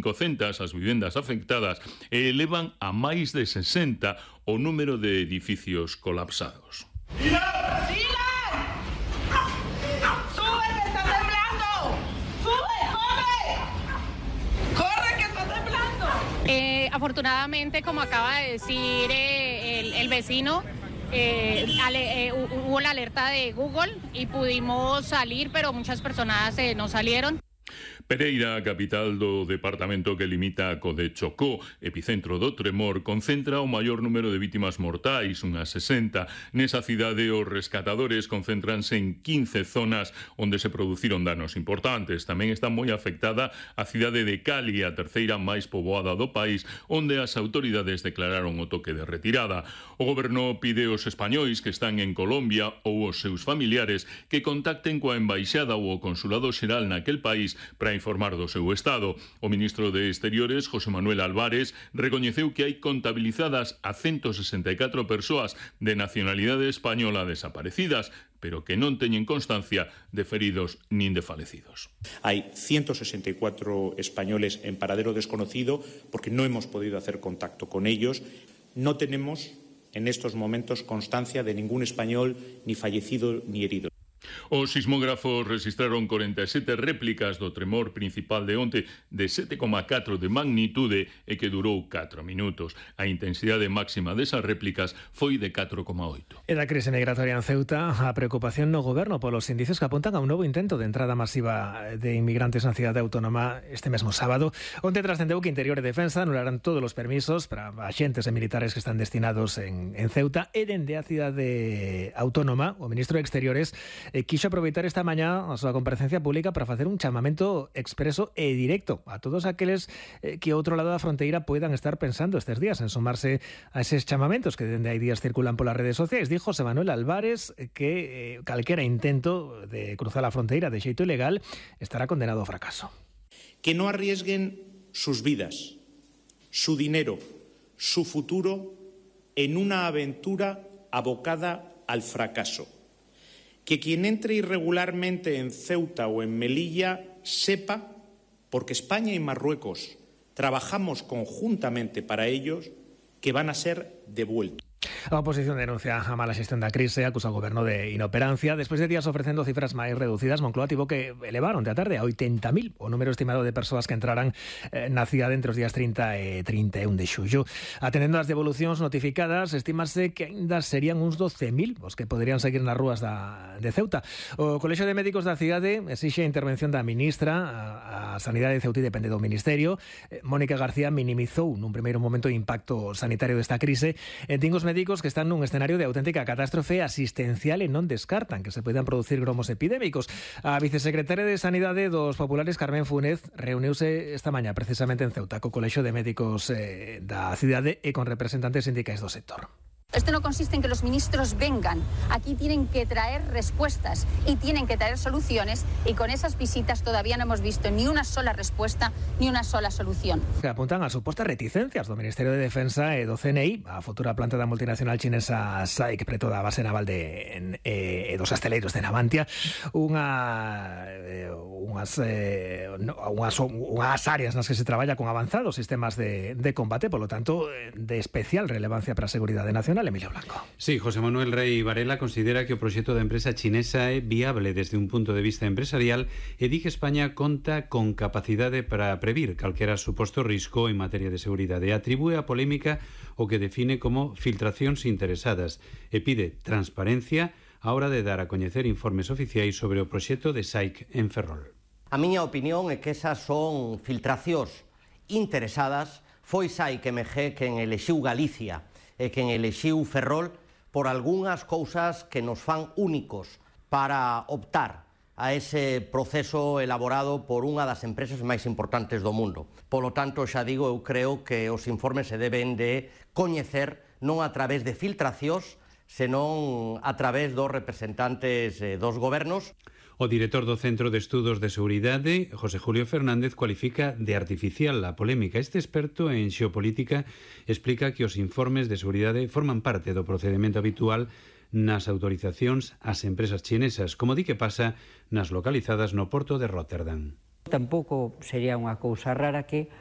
500 as vivendas afectadas e elevan a máis de 60 o número de edificios colapsados. Afortunadamente, como acaba de decir el vecino, hubo la alerta de Google y pudimos salir, pero muchas personas no salieron. Pereira, capital do departamento que limita co de Chocó, epicentro do tremor, concentra o maior número de vítimas mortais, unhas 60. Nesa cidade, os rescatadores concéntranse en 15 zonas onde se produciron danos importantes. Tamén está moi afectada a cidade de Cali, a terceira máis poboada do país, onde as autoridades declararon o toque de retirada. O goberno pide aos españois que están en Colombia ou os seus familiares que contacten coa embaixada ou o consulado xeral naquel país para informar do seu estado. O ministro de Exteriores, José Manuel Álvarez, recoñeceu que hai contabilizadas a 164 persoas de nacionalidade española desaparecidas, pero que non teñen constancia de feridos nin de falecidos. Hay 164 españoles en paradero desconocido porque no hemos podido hacer contacto con ellos. No tenemos en estos momentos constancia de ningún español ni fallecido ni herido. Os sismógrafos registraron 47 réplicas do tremor principal de onte de 7,4 de magnitude e que durou 4 minutos. A intensidade máxima desas réplicas foi de 4,8. E da crise migratoria en Ceuta, a preocupación no goberno polos indicios que apuntan a un novo intento de entrada masiva de inmigrantes na cidade autónoma este mesmo sábado. Onte trascendeu que Interior e Defensa anularán todos os permisos para axentes e militares que están destinados en Ceuta e dende a cidade autónoma, o ministro de Exteriores quixo aproveitar esta mañá a súa comparecencia pública para facer un chamamento expreso e directo a todos aqueles que ao outro lado da fronteira poidan estar pensando estes días en sumarse a eses chamamentos que dende hai días circulan polas redes sociais. Dijo José Manuel Álvarez que calquera intento de cruzar a fronteira de xeito ilegal estará condenado ao fracaso. Que no arriesguen sus vidas, su dinero, su futuro en una aventura abocada al fracaso. Que quien entre irregularmente en Ceuta o en Melilla sepa, porque España y Marruecos trabajamos conjuntamente para ellos, que van a ser devueltos. A oposición denuncia a mala xestión da crise, acusa o goberno de inoperancia. Despois de días ofrecendo cifras máis reducidas, Moncloa tivo que elevar onte a tarde a 80.000 o número estimado de persoas que entraran na cidade entre os días 30 e 31 de xullo. Atendendo as devolucións notificadas, estímase que aínda serían uns 12.000 os que poderían seguir nas rúas de Ceuta. O Colexio de Médicos da cidade exixe a intervención da ministra. A Sanidade de Ceuta depende do Ministerio. Mónica García minimizou nun primeiro momento o impacto sanitario desta crise. Din os médicos que están nun escenario de auténtica catástrofe asistencial e non descartan que se poidan producir gromos epidémicos. A vicesecretaria de Sanidade dos Populares, Carmen Fúnez, reuniuse esta mañá precisamente en Ceuta co Colexio de Médicos da cidade e con representantes sindicais do sector. Esto no consiste en que los ministros vengan. Aquí tienen que traer respuestas y tienen que traer soluciones, y con esas visitas todavía no hemos visto ni una sola respuesta ni una sola solución. Que apuntan a supostas reticencias do Ministerio de Defensa e do CNI, a futura planta da multinacional chinesa SAIC preto da base naval dos asteleiros de Navantia, unhas áreas nas que se traballa con avanzados sistemas de combate, polo tanto, de especial relevancia para a seguridade nacional. Emilio Blanco. Sí, José Manuel Rey Varela considera que o proxecto da empresa chinesa é viable desde un punto de vista empresarial e di que España conta con capacidade para previr calquera suposto risco en materia de seguridade. Atribúe a polémica o que define como filtracións interesadas e pide transparencia á hora de dar a coñecer informes oficiais sobre o proxecto de SAIC en Ferrol. A miña opinión é que esas son filtracións interesadas. Foi SAIC MG quen elixiu Galicia e quen elixiu Ferrol por algunhas cousas que nos fan únicos para optar a ese proceso elaborado por unha das empresas máis importantes do mundo. Polo tanto, xa digo, eu creo que os informes se deben de coñecer non a través de filtracións, senón a través dos representantes dos gobernos. O director do Centro de Estudos de Seguridade, José Julio Fernández, cualifica de artificial a polémica. Este experto en xeopolítica explica que os informes de seguridade forman parte do procedimento habitual nas autorizacións ás empresas chinesas, como di que pasa nas localizadas no porto de Rotterdam. Tampouco sería unha cousa rara que